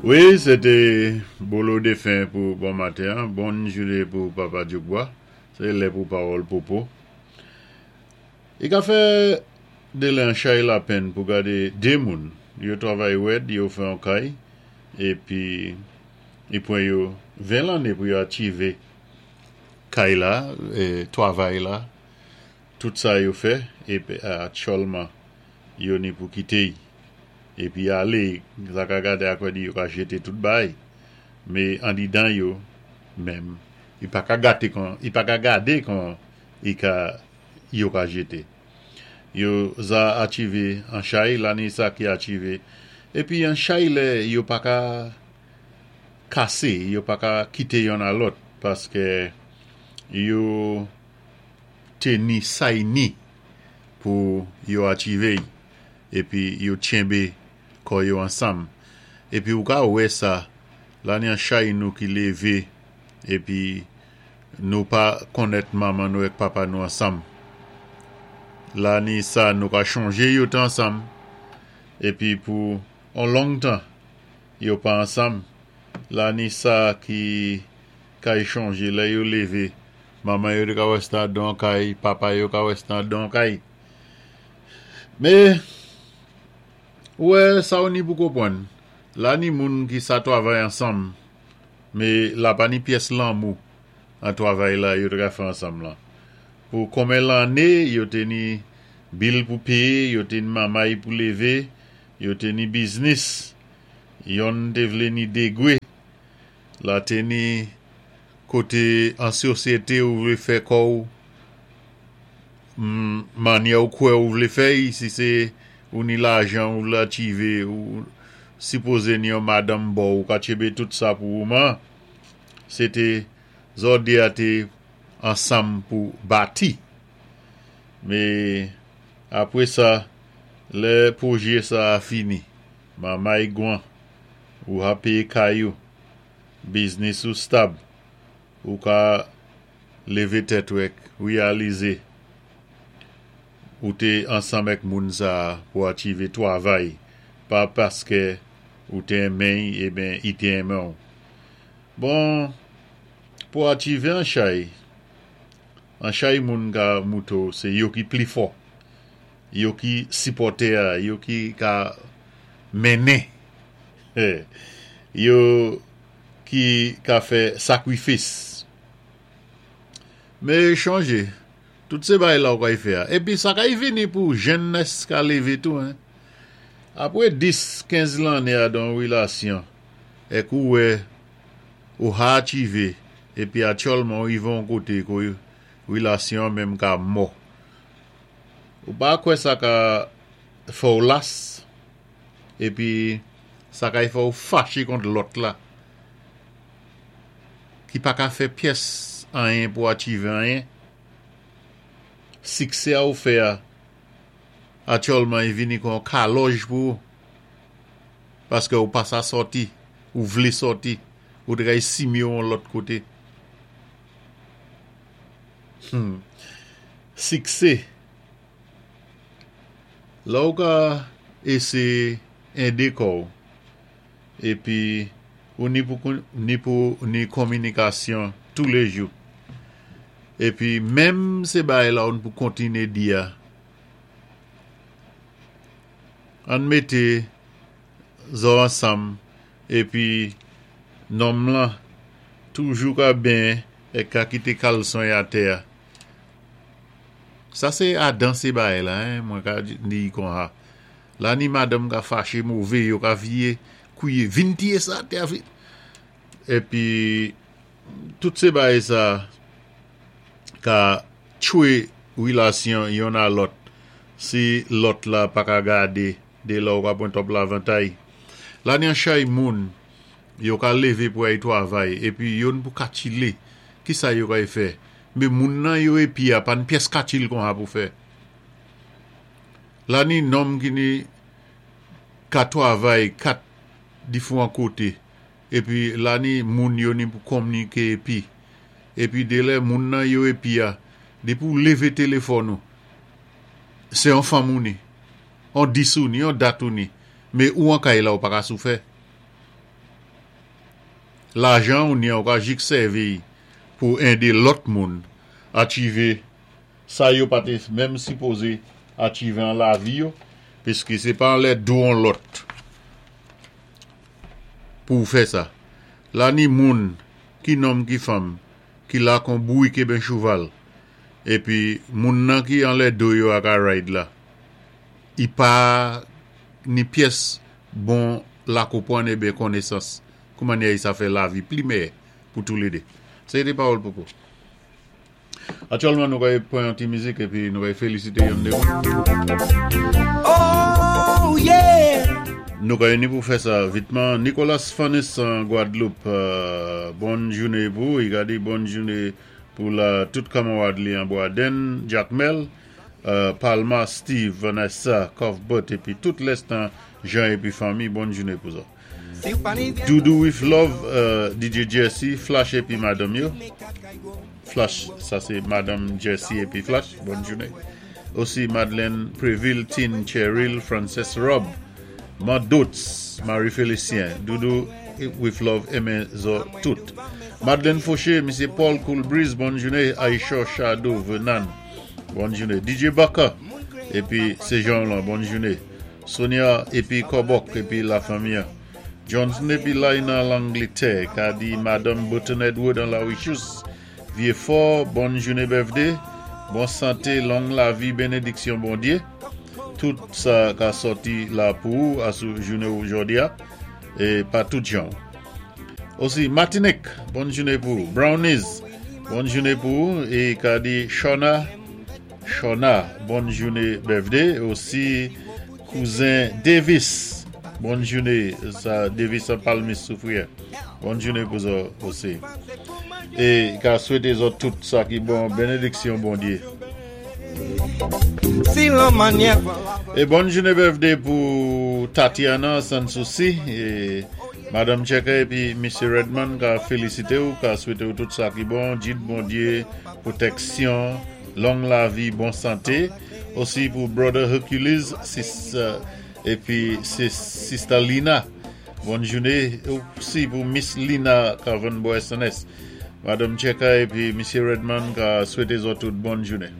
Wi, sé té Bolo Défen pou bon maten an. Bonn jouné pou Papa Dyoukbwa. Sé lè pou pawòl popo. I ka fè delè an chay lapenn pou gadé dé moun, yo twavay wèd, yo fè on kay, épi i pwan yo 20 lanné pou yo achivé kay la, twavay la, tout sa yo fè, épi aktyèlman yo ni pou kité y, épi alé, sa ka gade akwè di yo ka jété tout bay, mé andidan yo menm, i pa ka gate kon, i pa ka gade kon i ka yo ka jete. Yo za achive an chay la ni sa ki achive. Epi an chay lè yo pa ka kase, yo pa ka kite yonn a lòt paske yo te ni say ni pou yo achive y epi yo tchenbe kò yo ansanm. Epi ou ka wè sa la ni an chay nou ki leve epi Nou pa konnèt manman nou èk papa nou ansanm. La ni sa nou ka chonje yo te ansanm, epi pou on long tan yo pa ansanm. La ni sa ki kay chonje lè yo leve, manman yo te ka wè se andan on kay, papa yo ka wè se andan on kay. Me, ou wè sa ou ni pou konpwann, la ni moun ki sa twavay ansanm. Me la pa ni pyès lanmou an twavay la yo te ka fè ansanm lan. Pou konben lanne yo te ni bil pou peye, yo te ni mamay pou leve, yo te ni biznis. Yonn te vle ni degwe. La te ni kote an sosyete ou vle fè kò ou Manyè ou kwè ou vle fè y, si se ou ni lajan ou vle achive, ou sipoze ni yon madanm bò ou ka tchebe tout sa pou ou man, se te zòde a te ansanm pou bati. Me apre sa, lè pwojè sa a fini, mamay gwan, ou ha peye kay ou, biznis ou stab, ou ka leve tèt ou èk reyalize ou te ansanm èk moun sa a pou achive twavay, pa paskè ou te enmen y eben i te enmen w. Bon, pou achive an chay, an chay moun ka moute w se yo ki pli fò, yo ki sipòte a, yo ki ka mennen, yo ki ka fè sakrifis. Me chonje, tout se bay la ou kay fè a. Epi sa kay vini pou jennès ka leve tou hein. Apre 10, 15 lanne a dan yon relasyon, èk ou wè ou ha achive epi atyòlman ou rive yon kote ko relasyon an menm ka mò. Ou pa kwè sa ka fè w las epi sa kay fè w fache kont lòt la. Ki pa ka fè pyès anyen pou achive anyen. Siksè a ou fè a, atyòlman i vini kon yon kalòj pou ou. Paske ou pa sa sòti, ou vle sòti, ou te kay simye ou yon lòt kote. Hum. Siksè. La ou ka eseye ede kò ou. Epi ou ni pou ni pou ni kominikasyon toulejou. Epi menm se bagay la ou n pou kontine di a. Ann mete zò ansanm epi nonm lan toujou ka benyen e ka kite kalson y atè a. Sa se adan se bagay la hein mwen ka di konsa. La ni madanm ka fache move yo ka vye kouye vin tiye sa atè a vin epi tout se bagay sa ka tchwe relasyon yonn a lòt si lòt la pa ka gade de la ou ka pran twòp lavantay la ni an chay moun yo ka leve pou ay twavay epi yonn pou katchile kisa yo kay fè men moun nan yo epi a pa n pyès katchil konsa pou fè. La ni nonm ki ni ka twavay 4 difwan kote epi la ni moun yo ni pou konmnike epi epi delè moun nan yo epi a depi ou leve telefòn ou se yon fanm ou ni yon dis ou ni yon dat ou ni me ou an kay la ou pa ka sou fè. Lajan ou ni an, ou ka jik sèvi pou édé lòt moun achivé sa yo pa té menm sipozé achivé an lavi yo, piski sé pa anlè do an lòt pou fè sa. La ni moun ki nonm ki fanm ki la kon bourik eben chouval épi moun nan ki anlè do yo a ka ride la. I pa ni pyès bon lakonpwann eben konésans kou mannyè sa fè lavi pli meyè pou toulédé. Sé té pawòl Popo. Aktyèlman nou kay pran yon ti mizik épi nou kay félisité yon dé moun. Oh yeah! Nou kay ni pou fè sa vitman. Nicolas Fanis an Gwadloup, bòn jouné pou i ka di bòn jouné pou la tout kanmarad li an Bwaden, Jacmel, Palma, Steve, Vanessa, Cuthbert épi tout lèstan Jean épi fanmi, bòn jouné pou zòt. Doudou with Love, DJ Jesse, Flash épi madanm yo. Flash, sa sé madanm Jesse épi Flash, bòn jouné. Osi Madeleine Préville, Tine Cheryl, Frances Rob, Mandots, Marie Félicien, Doudou with Love enmen zòt tout. Madeleine Fauché, Misyé Paul Coolbreeze, bòn jouné. Aisha Shadow Venan, bòn jouné. DJ Baka, épi sé Jean lan, bòn jouné. Sonia épi Kobok épi lafanmi. Johnson épi Laina Langletè, ka di Madanm Button Edward an La Richus, Vieux-Fort, bòn jouné birthday, bon santé, long lavi, bénédiksyon Bondyé. Tout sa ka sòti la pou ou asou jouné jòdi a, é pa tout jan. Osi Martinique, bòn jouné pou ou. Brownies, bòn jouné pou ou é ka di Shauna Shauna, bòn jouné birthday. Osi kouzen Davis, bòn jouné sa Davis an Palmis Soufrière. Bòn jouné pou zòt osi. É ka swété zòt tout sa ki bon, bénédiksyon Bondyé. Si lan mannyè É bòn jouné birthday pou Tatiana Sans Souci é Madanm Checker épi Misyé Redman ka félisité ou, ka swété ou tout sa ki bon, jid Bondyé, pwotèksyon, long lavi, bon santé. Osi pou Brother Hercules sis épi sé Sister Lina. Bòn jouné osi pou Miss Lina ka vann bò SNS. Madanm Checker épi Misyé Redman ka swété zòt tout bòn jouné.